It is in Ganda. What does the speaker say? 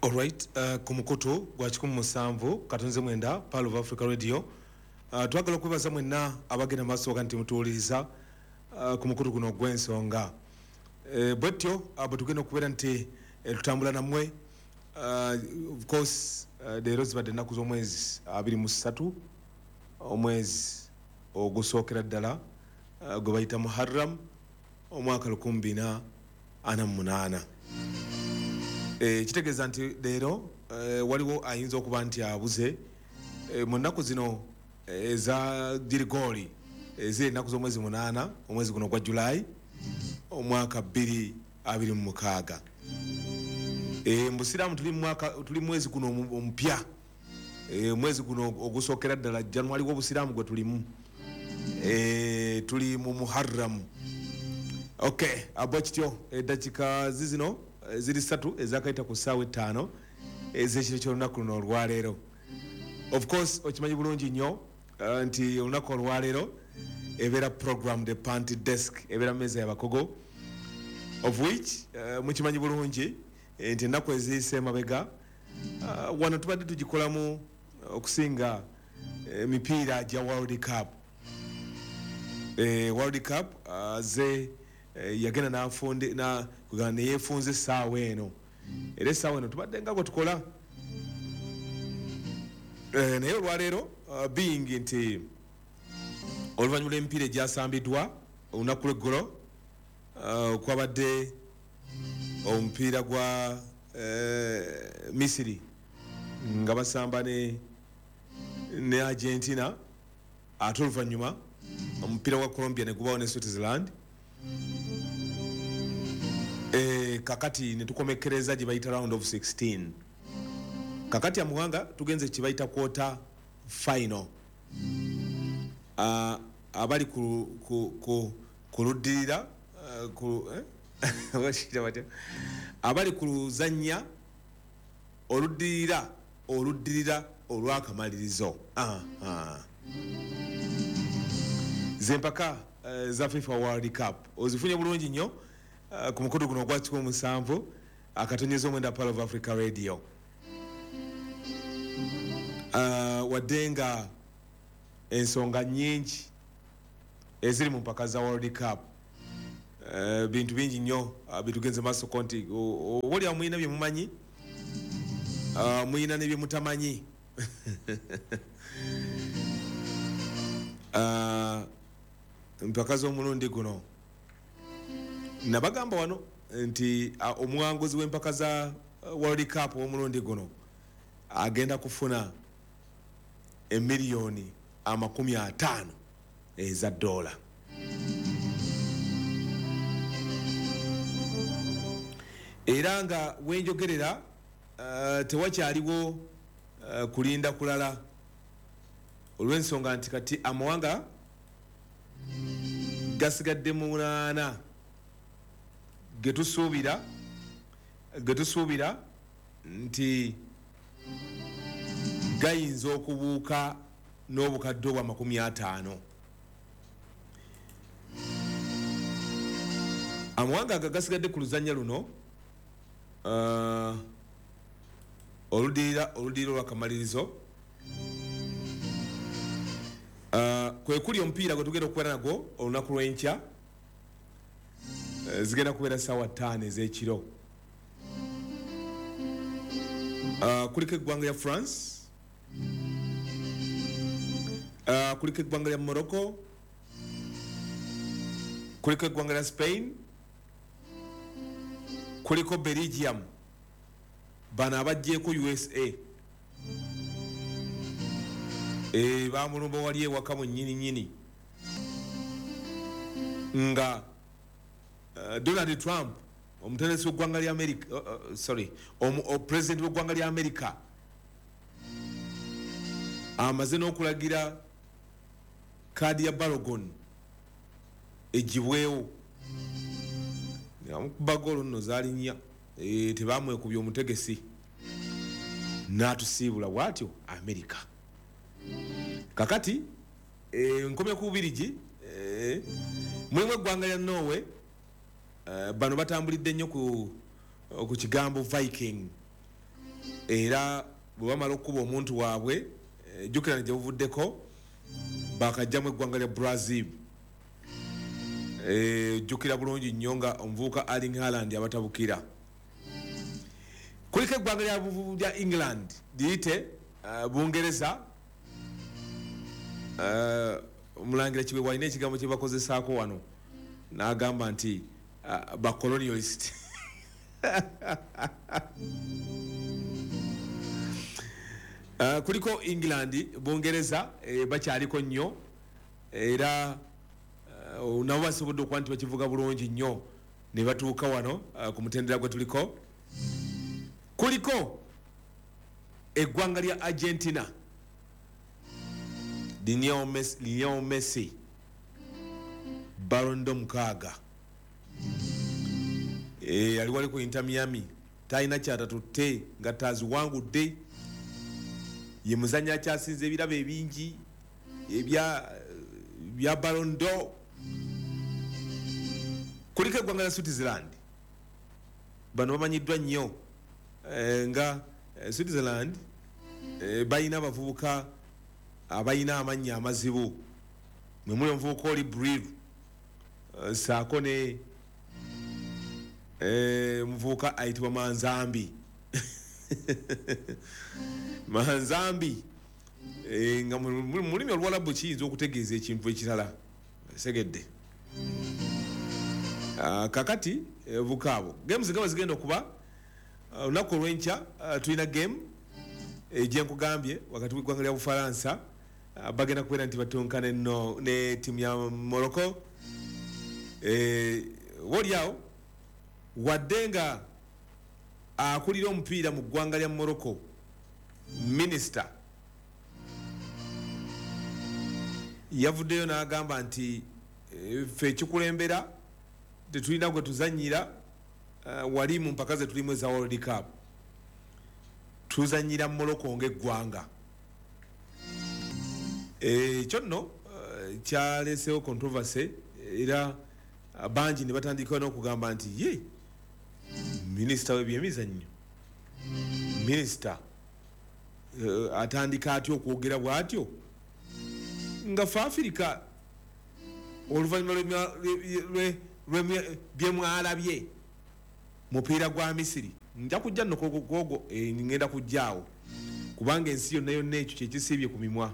Alright, ku mukutu gwa 107.9 Pearl of Africa Radio. Twagala okwebaza mwenna abagenda maaso nti mutuwuliriza ku mukutu guno ogw'ensonga. Bwetyo bwe tugenda okubeera nti tutambula nammwe. Of course, leero zibadde ennaku z'omwezi 23, omwezi ogusookera ddala gwe bayita Muharram, omwaka 1448. Kitegeeza nti leero waliwo ayinza okuba nti abuze mu nnaku zino eza Girigoli, eziri ennaku z'omwezi 8, omwezi guno ogwa Julayi, omwaka 2026. Mu busiraamu tuli mwaka, tuli mwezi guno omupya, omwezi guno ogusookera ddala January w'obusiraamu gwe tulimu, tuli mu Muharram. Okay, abo kityo eddakiika zizino ziri 3 ezakayita ku ssaawa 5 ez'ekiro ky'olunaku luno olwaleero. Of course, okimanyi bulungi nnyo nti olunaku olwaleero ebeera program The Panty Desk, ebeera mmeeza y'abakogo, of which mukimanyi bulungi nti ennaku eziyise emabega wano tubadde tugikolamu okusinga emipiira gya World Cup. World Cup ze yagenda n'afunde na kugamba ne yeefunza essaawa eno, era essaawa eno tubadde nga bwe tukola. Naye olwaleero, being nti oluvannyuma lw'emipiira egyasambiddwa olunaku lw'eggulo, kwabadde omupiira gwa Misiri nga basamba ne Argentina, ate oluvannyuma omupiira gwa Colombia ne gubawo ne Switzerland. Kakati ne tukomekkereza gye bayita round of 16. Kakati amuwanga tugenze kye bayita quarter final. Abali ku luddirira, ku, bakiyita batya? Abali ku luzannya oluddirira olw'akamalirizo. Zempaka za FIFA World Cup ozifunye bulungi nnyo ku mukutu guno ogwa 107.9 Pearl of Africa Radio. Wadde nga ensonga nnyingi eziri mu mpaka za World Cup, bintu bingi nnyo bitugenze maaso ko nti oba oli awo mulina bye mumanyi, mulina ne bye mutamanyi. Mpaka z'omulundi guno nabagamba wano nti omuwanguzi w'empaka za World Cup w'omulundi guno agenda kufuna emiliyoni 50 eza dola. Era nga wenjogerera, tewakyaliwo kulinda kulala, olw'ensonga nti kati amawanga gasigadde 8 getusuubira nti gayinza okubuuka n'obukadde obwa 50. Amawanga aga gasigadde ku luzannya luno, oluddirira olw'akamalirizo, kwe kuli omupiira gwe tugenda okubeera nagwo olunaku lw'enkya. Zigenda kubeera ssaawa 5 ez'ekiro. Kuliko eggwanga lya France, kuliko eggwanga lya Morocco, kuliko eggwanga lya Spain, kuliko Belgium, bano abaggyeko USA. Bamulumba wali ewaka mu nnyini nnyini nga Donald Trump, omutendesi w'eggwanga lya America, sorry, president w'eggwanga lya America amaze n'okulagira kaadi ya Balogun egibwewo. Yamukuba goolo nno zaali nnya, tebamwekubye omutegesi n'atusiibula bw'atyo America. Kakati nkomye ku Bubirigi, mulimu eggwanga lya Norway. Bano batambulidde nnyo ku kigambo Viking. Era bwe bamala okukuba omuntu waabwe, jjukira ne gye buvuddeko bakajjamu eggwanga lya Brazil. Jjukira bulungi nnyo nga omuvubuka Erling Haaland abatabukira. Kuliko eggwanga lya England, liyite Bungereza. Omulangira Kiwe walina ekigambo kye bakozesaako wano n'agamba nti bacolonialist. Kuliko England, Bungereza, bakyaliko nnyo era nabo basobodde okuba nti bakivuga bulungi nnyo ne batuuka wano ku mutendera gwe tuliko. Kuliko eggwanga lya Argentina, Lionel Messi, Ballon d'Or 6. Ali wali ku Inter Miami, talina kyatatutte nga taziwangudde. Ye muzannyi akyasinze ebirabo ebingi ebya Ballon d'Or. Kuliko eggwanga lya Switzerland, bano bamanyiddwa nnyo nga Switzerland, balina abavubuka abalina amannya amazibu, mwe muli omuvubuka oli Bril, saako ne omuvubuka ayitibwa Manzambi. Manzambi nga mu lulimi Oluwalabu kiyinza okutegeeza ekintu ekirala, segedde. Kakati bukaabo games nga zigenda okuba olunaku olw'enkya, tulina game gyenkugambye wakati w'eggwanga lya Bufalansa, bagenda kubeera nti batonkane no ne ttiimu ya Morocco. Woliawo wadde nga akulira omupiira mu ggwanga lya Morocco, minisita yavuddeyo n'agamba nti ffe ekikulembera tetulina gwe tuzannyira wali mu mpaka ze tulimu eza World Cup, tuzannyira Morocco ng'eggwanga. Ekyo nno kyaleesewo controversy, era bangi ne batandika n'okugamba nti ye minisita w'ebyemizannyo, minisita atandika atya okwogera bw'atyo nga fe Afirika oluvannyuma bye mwalabye mupiira gwa Misiri. Nja kujja nno kwogo, ngenda kujjaawo kubanga ensi yonna yonna ekyo kyekisiibye ku mimwa.